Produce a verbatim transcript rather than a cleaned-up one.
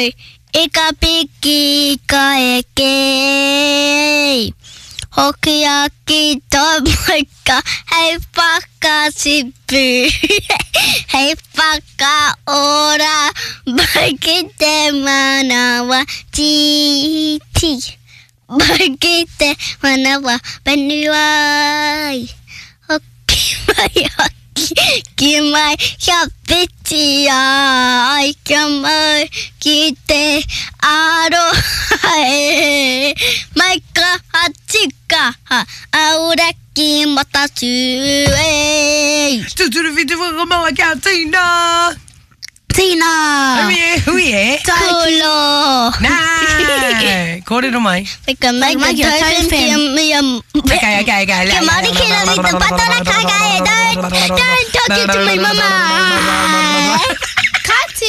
au i ka piki ka eke. Hoki aki tō maika hei whakatipu, hei whakaora mai ki te manawa tītī, mai ki te manawa whenua. Hoki mai, hoki ki mai, kia whitia ai, kia mau ki te aroha e. Mai kaha tikaha, auraki matatū e. Tūturu whitu whakamaua kia tina! Tina! Hui e, hui e. Kolo! Nā! Kōrero mai. Whakamai ka tau kia Okay, okay, okay. Kia Māori ki rangi te patara kaka e. Don't, don't talk it to me, mama!